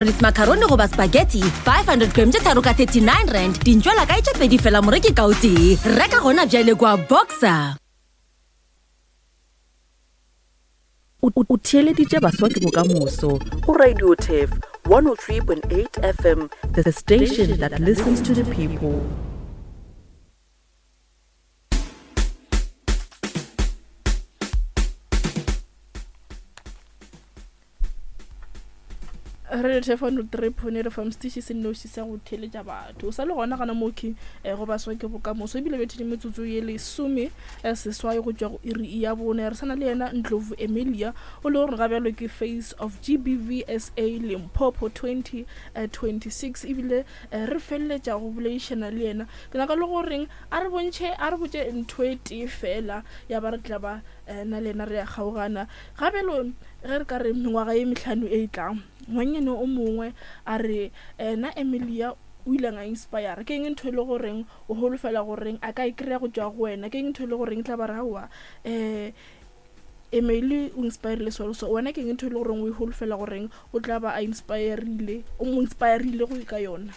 Macaroni goba spaghetti 500 gram tše tharo ka 39 rand dintšwela kae tše pedi fela moreki ka o tee reka gona bjale kwa boxer O theeleditše Baswa ke Bokamoso go Radio Turf 103.8 FM, the station that listens to the people. Re thefano trepone re fa mosetiši se nnoši sa go theeletša batho o sa le gona gana mokhi um go baswa ke bokamoso ebile bethile metsotso ye lesome eh, seswai go tšwa go iri ya bone re sana le yena Ndlovu Emilia o le gore ga bjalo ke face of GBVSA Limpopo 2026 ebile eh, re feleletša go boledišana le yena ke nyaka le goreng a re bontšhe a re botše ntho e tee fela ya ba re tla ba na le yena re ya kgaogana ga bjalo Ge re ka re mengwaga ye mehlano e e tlang, ngwannyane o mongwe a re, Ena Emilia o ile a inspire. Ke eng ntho e le goreng o holofela goreng a ka e kry-a go tšwa go wena? Ke eng ntho e le goreng e tla ba re aowa um Emily o inspirile so le so. Wena ke eng ntho e le goreng o e holofela goreng o tla ba a inspirile, o mo inspirile go ka yona?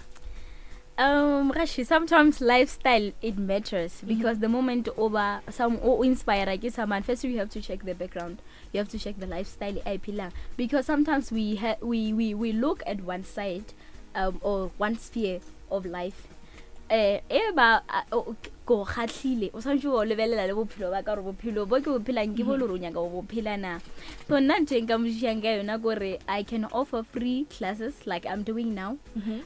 Rashi, sometimes lifestyle it matters because the moment over some o inspire ke someone, first you have to check the background. You have to check the lifestyle e a e phelang because sometimes we, ha, we, we, we look at one side um, or one sphere of life eh e ba ko kgatlhile o tshwanetse o lebelela le bophelo ba ka gore bophelo bo ke bo phelang ke bo le gore o nyaka go bo phela na. So nna ntho e nka mo thušang ka yona kore I can offer free classes like I'm doing now.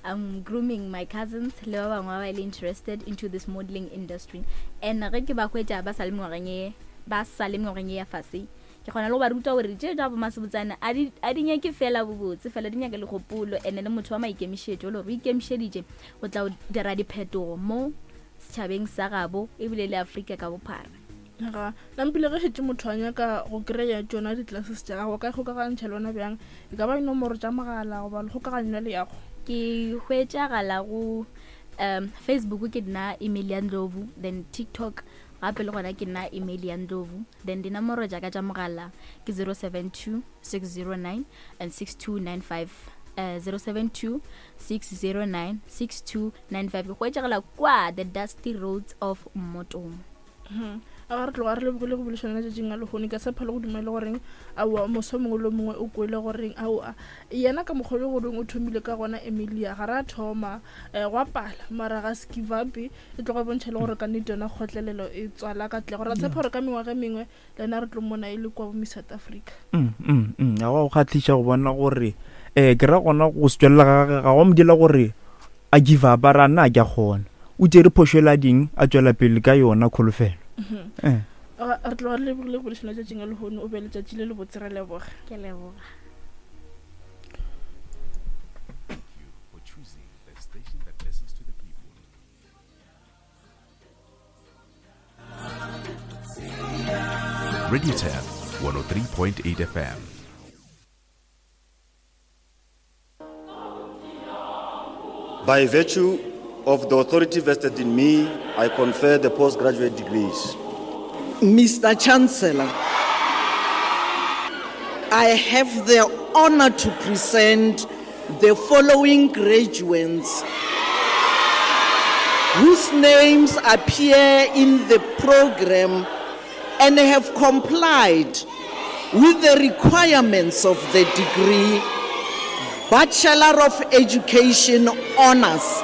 I'm grooming my cousins le ba bangwe ba ba le interested into this modeling industry, and ge ke ba hwetša ba sa le mengwageng e ba sa le mengwageng e ya fase, ke kgona le go ba ruta gore tše tša bomasebotsana a di a di nyake fela bobotse fela, di nyake le kgopolo and le motho wa maikemišetšo, le gore o ikemišeditše go tla go dira diphetogo mo setšhabeng sa gabo ebile le Afrika ka bophara. Ga nampile ge šetše motho a nyaka go kry-a tšona di-classes tša gago, ka kgokagantšha le wena bjang? E ka ba dinomoro tša mogala goba le kgokaganyo ya leago? Ke hwetšagala go um Facebook ke nna Emilia Ndlovu, then TikTok gape le gona ke nna Emilia Ndlovu, then dinomoro tša ka tša mogala ke 072 609 and 6295, 072 609 6295. Ke hwetšagala kwa the dusty roads of Mmotong. A ga re tloga re lebogile go bolešana letšatšing a lehono. Ke tshepa le go dumela goreng aowa moso mongwe le mongwe o kwele goreng aowa yena ka mokgwa le goreng o thomile ka gona Emilia ga ra thoma um go apala mara ga se give up e tloga e bontšha le gore ka nnete yona kgotlelelo e tswala katlego. Ra tshepa gore ka mengwaga e mengwe le yena re tlo mmona e le kwa bo Miss South Africa. Ga go kgahliša go bona gore um ke ra gona go se tswelela ga gage ga go mo dira gore a give up a re a nna a ke a kgona. O tšere phošo ela ding a tšwela pele ka yona kholofelo. Eh. Re tloga re lebogile go bolešana tšatšing a lehono. O be letšatši le lebotse, ra leboga. Ke leboga. Radio Turf 103.8 FM. By virtue of the authority vested in me, I confer the postgraduate degrees. Mr. Chancellor, I have the honor to present the following graduates whose names appear in the program and have complied with the requirements of the degree Bachelor of Education Honors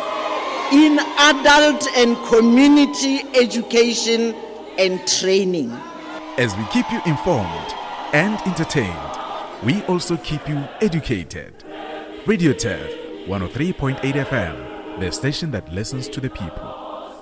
in Adult and Community Education and Training. As we keep you informed and entertained, we also keep you educated. Radio Turf 103.8 FM, the station that listens to the people.